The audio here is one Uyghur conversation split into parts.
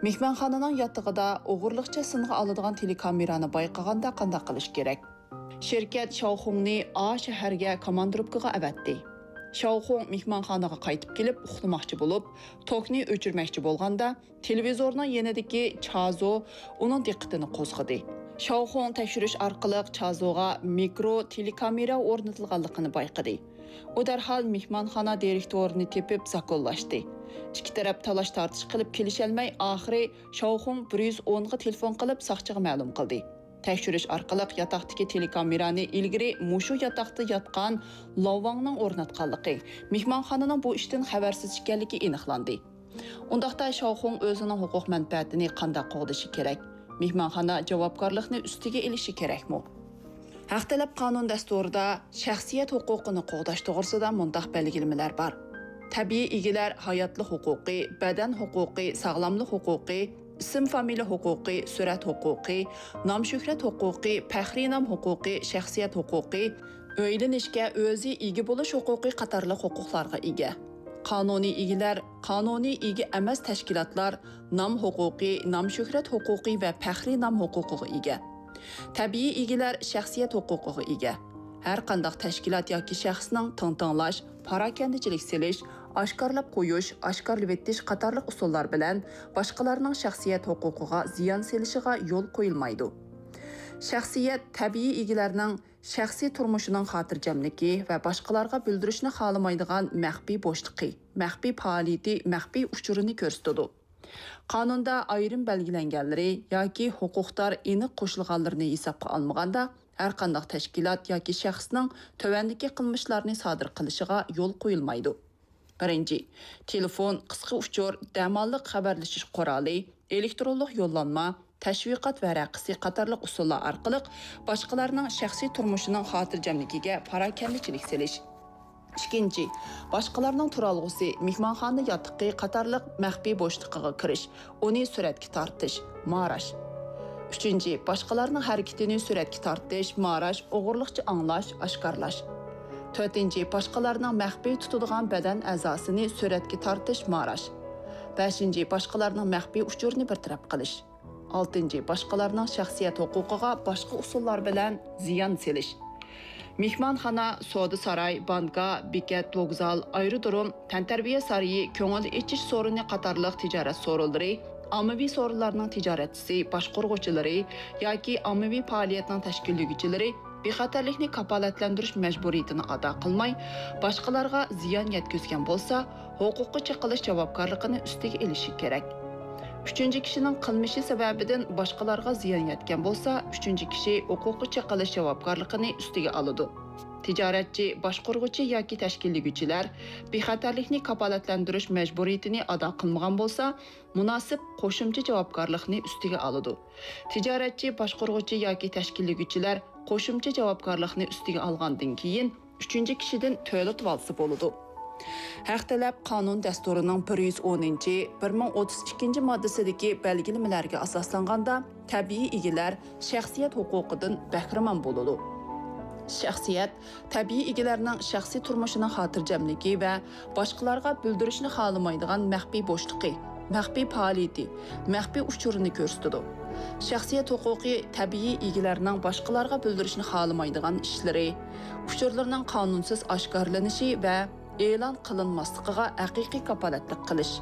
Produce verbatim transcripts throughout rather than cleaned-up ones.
مېھمانخانىنىڭ ياتىقىدا ئوغرىلىقچە سىنغا ئالىدىغان تېلېكامېرانى بايقىغاندا قانداق قىلىش كېرەك؟ شىركەت شاۋخۇڭنى ئا شەھەرگە كوماندىروپكىغا ئەۋەتتى. شاۋخۇڭ مېھمانخانىغا قايتىپ كېلىپ ئۇخلىماقچى بولۇپ، توكنى ئۆچۈرمەكچى بولغاندا، تېلېۋىزورنىڭ يېنىدىكى چازو ئۇنىڭ دىققىتىنى قوزغىدى. شاۋخۇڭ تەكشۈرۈش ئارقىلىق چازوغا مىكرو تېلېكامېرا ئورنىتىلغانلىقىنى بايقىدى. ئۇ دەرھال مېھمانخانا دىرېكتورىنى تېپىپ زاكونلاشتى. ئىككى تەرەپ تالاش-تارتىش قىلىپ كېلىشەلمەي، ئاخىرى شاۋخۇڭ بىر يۈز ئونغا تېلېفون قىلىپ ساقچىغا مەلۇم قىلدى. تەكشۈرۈش ئارقىلىق ياتاقتىكى تېلېكامېرانى ئىلگىرى مۇشۇ ياتاقتا ياتقان لاۋاڭنىڭ ئورناتقانلىقى، مېھمانخانىنىڭ بۇ ئىشتىن خەۋەرسىز ئىكەنلىكى ئېنىقلاندى. ئۇنداقتا شاۋخۇڭ ئۆزىنىڭ ھوقۇق مەنپەئەتىنى قانداق قوغدىشى كېرەك؟ مېھمانخانا جاۋابكارلىقنى ئۈستىگە ئېلىشى كېرەكمۇ؟ ھەق تەلەپ قانۇن دەستۇرىدا شەخسىيەت ھوقۇقىنى قوغداش توغرىسىدا مۇنداق بەلگىلىمىلەر بار: تەبىئىي ئىگىلەر ھاياتلىق ھوقۇقى، بەدەن ھوقۇقى، ساغلاملىق ھوقۇقى، ئىسىم-فامىلە ھوقۇقى، سۈرەت ھوقۇقى، نام-شۆھرەت ھوقۇقى، پەخرىي نام ھوقۇقى، شەخسىيەت ھوقۇقى، ئۆيلىنىشكە ئۆزى ئىگە بولۇش ھوقۇقى قاتارلىق ھوقۇقلارغا ئىگە. قانۇنىي ئىگىلەر، قانۇنىي ئىگە ئەمەس تەشكىلاتلار نام ھوقۇقى، نام-شۆھرەت ھوقۇقى ۋە پەخرىي نام ھوقۇقىغا ئىگە. تەبىئىي ئىگىلەر شەخسىيەت ھوقۇقىغا ئىگە. ھەر قانداق تەشكىلات ياكى شەخسنىڭ تىڭتىڭلاش، پاراكەندىچىلىك سېلىش، ئاشكارىلاپ قويۇش، ئاشكارىلىۋېتىش قاتارلىق ئۇسۇللار بىلەن باشقىلارنىڭ شەخسىيەت ھوقۇقىغا زىيان سېلىشىغا يول قويۇلمايدۇ. شەخسىيەت تەبىئىي ئىگىلەرنىڭ شەخسىي تۇرمۇشىنىڭ خاتىرجەملىكى ۋە باشقىلارغا بىلدۈرۈشنى خالىمايدىغان مەخپىي بوشلۇقى، مەخپىي پائالىيىتى، مەخپىي ئۇچۇرىنى كۆرسىتىدۇ. قانۇندا ئايرىم بەلگىلەنگەنلىرى ياكى ھوقۇقدار ئېنىق قوشۇلغانلىرىنى ھېسابقا ئالمىغاندا، ھەرقانداق تەشكىلات ياكى شەخسنىڭ تۆۋەندىكى قىلمىشلارنى سادىر قىلىشىغا يول قويۇلمايدۇ. بىرىنچى، تېلېفون، قىسقا ئۇچۇر، دەماللىق خەۋەرلىشىش قورالى، ئېلېكترونلۇق يوللانما، تەشۋىقات ۋەرەقىسى قاتارلىق ئۇسۇللار ئارقىلىق باشقىلارنىڭ شەخسىي تۇرمۇشىنىڭ خاتىرجەملىكىگە پاراكەندىچىلىك سېلىش. ئىككىنچى، باشقىلارنىڭ تۇرالغۇسى، مېھمانخانا ياتىقى قاتارلىق مەخپىي بوشلۇقىغا كىرىش، ئۇنى سۈرەتكە تارتىش، ماراش. ئۈچىنچى، باشقىلارنىڭ ھەرىكىتىنى سۈرەتكە تارتىش، ماراش، ئوغرىلىقچە ئاڭلاش، ئاشكارىلاش. تۆتىنچى، باشقىلارنىڭ مەخپىي تۇتىدىغان بەدەن ئەزاسىنى سۈرەتكە تارتىش، ماراش. بەشىنچى، باشقىلارنىڭ مەخپىي ئۇچۇرىنى بىر تەرەپ قىلىش. ئالتىنچى، باشقىلارنىڭ شەخسىيەت ھوقۇقىغا باشقا ئۇسۇللار بىلەن زىيان سېلىش. مېھمانخانا، سودا ساراي، بانكا، بېكەت، ۋوگزال، ئايرودروم، تەنتەربىيە سارىيى، كۆڭۈل ئېچىش سورۇنى قاتارلىق تىجارەت سورۇنلىرى، ئاممىۋى سورۇنلارنىڭ تىجارەتچىسى، باشقۇرغۇچىلىرى ياكى ئاممىۋى پائالىيەتنىڭ تەشكىللىگۈچىلىرى بىخەتەرلىكنى كاپالەتلەندۈرۈش مەجبۇرىيىتىنى ئادا قىلماي، باشقىلارغا زىيان يەتكۈزگەن بولسا، ھوقۇققا چېقىلىش جاۋابكارلىقىنى ئۈستىگە ئېلىشى كېرەك. ئۈچىنچى كىشىنىڭ قىلمىشى سەۋەبىدىن باشقىلارغا زىيان يەتكەن بولسا، ئۈچىنچى كىشى ھوقۇققا چېقىلىش جاۋابكارلىقىنى ئۈستىگە ئالىدۇ. تىجارەتچى، باشقۇرغۇچى ياكى تەشكىللىگۈچىلەر بىخەتەرلىكنى كاپالەتلەندۈرۈش مەجبۇرىيىتىنى ئادا قىلمىغان بولسا، مۇناسىپ قوشۇمچە جاۋابكارلىقنى ئۈستىگە ئالىدۇ. تىجارەتچى، باشقۇرغۇچى ياكى تەشكىللىگۈچىلەر قوشۇمچە جاۋابكارلىقنى ئۈستىگە ئالغاندىن كېيىن، ئۈچىنچى كىشىدىن تۆلىتىۋالسا بولىدۇ. ھەق تەلەپ قانۇن دەستۇرىنىڭ بىر يۈز ئونىنچى، بىر مىڭ ئوتتۇز ئىككىنچى ماددىسىدىكى بەلگىلىمىلەرگە ئاساسلانغاندا، تەبىئىي ئىگىلەر شەخسىيەت ھوقۇقىدىن بەھرىمەن بولىدۇ. شەخسىيەت تەبىئىي ئىگىلەرنىڭ شەخسىي تۇرمۇشىنىڭ خاتىرجەملىكى ۋە باشقىلارغا بىلدۈرۈشنى خالىمايدىغان مەخپىي بوشلۇقى، مەخپىي پائالىيىتى، مەخپىي ئۇچۇرىنى كۆرسىتىدۇ. شەخسىيەت ھوقۇقى تەبىئىي ئىگىلەرنىڭ باشقىلارغا بىلدۈرۈشنى خالىمايدىغان ئىشلىرى، ئۇچۇرلىرىنىڭ قانۇنسىز ئاشكارىلىنىشى ۋە ئېلان قىلىنماسلىقىغا ھەقىقىي كاپالەتلىك قىلىش،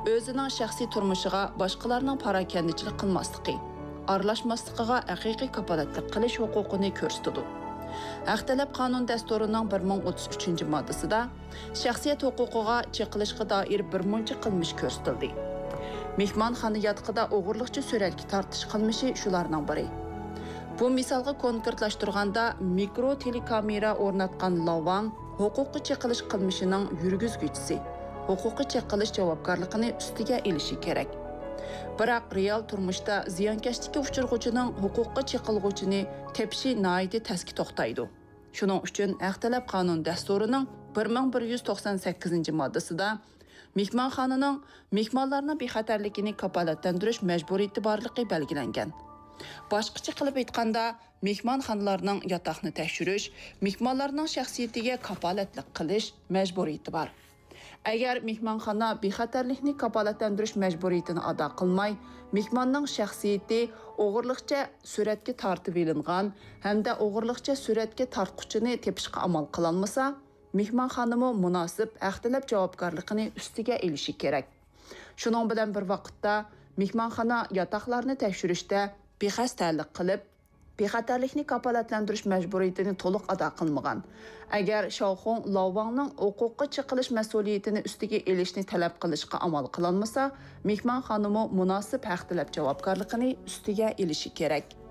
ئۆزىنىڭ شەخسىي تۇرمۇشىغا باشقىلارنىڭ پاراكەندىچىلىك قىلماسلىقى، ئارىلاشماسلىقىغا ھەقىقىي كاپالەتلىك قىلىش ھوقۇقىنى كۆرسىتىدۇ. ھەق تەلەپ قانۇن دەستۇرىنىڭ بىر مىڭ ئوتتۇز ئۈچىنچى ماددىسىدا شەخسىيەت ھوقۇقىغا چېقىلىشقا دائىر بىر مۇنچە قىلمىش كۆرسىتىلدى. مېھمانخانا ياتىقىدا ئوغرىلىقچە سۈرەتكە تارتىش قىلمىشى شۇلارنىڭ بىرى. بۇ مىسالغا كونكرېتلاشتۇرغاندا، مىكرو تېلېكامېرا ئورناتقان لاۋاڭ ھوقۇققا چېقىلىش قىلمىشىنىڭ يۈرگۈزگۈچىسى، ھوقۇققا چېقىلىش جاۋابكارلىقىنى ئۈستىگە ئېلىشى كېرەك. بىراق، رېئال تۇرمۇشتا زىيانكەشلىككە ئۇچرىغۇچىنىڭ ھوقۇققا چېقىلغۇچىنى تېپىشى ناھايىتى تەسكە توختايدۇ. شۇنىڭ ئۈچۈن ھەق تەلەپ قانۇن دەستۇرىنىڭ بىر مىڭ بىر يۈز توقسان سەككىزىنچى ماددىسىدا مېھمانخانىنىڭ مېھمانلارنىڭ بىخەتەرلىكىنى كاپالەتلەندۈرۈش مەجبۇرىيىتى بارلىقى بەلگىلەنگەن. باشقىچە قىلىپ ئېيتقاندا، مېھمانخانىلارنىڭ ياتاقنى تەكشۈرۈش، مېھمانلارنىڭ شەخسىيىتىگە كاپالەتلىك قىلىش مەجبۇرىيىتى بار. ئەگەر مېھمانخانا بىخەتەرلىكنى كاپالەتلەندۈرۈش مەجبۇرىيىتىنى ئادا قىلماي، مېھماننىڭ شەخسىيىتى ئوغرىلىقچە سۈرەتكە تارتىۋېلىنغان ھەمدە ئوغرىلىقچە سۈرەتكە تارتقۇچىنى تېپىشقا ئامال قىلالمىسا، مېھمانخانىمۇ مۇناسىپ ھەق تەلەپ جاۋابكارلىقىنى ئۈستىگە ئېلىشى كېرەك. شۇنىڭ بىلەن بىر ۋاقىتتا، مېھمانخانا ياتاقلارنى تەكشۈرۈشتە بىخەستەلىك قىلىپ، بىخەتەرلىكنى كاپالەتلەندۈرۈش مەجبۇرىيىتىنى تولۇق ئادا قىلمىغان. ئەگەر شاۋخۇڭ لاۋۋاڭنىڭ ھوقۇققا چېقىلىش مەسئۇلىيىتىنى ئۈستىگە ئېلىشنى تەلەپ قىلىشقا ئامال قىلالمىسا، مېھمانخانىمۇ مۇناسىپ ھەق تەلەپ جاۋابكارلىقىنى ئۈستىگە ئېلىشى كېرەك.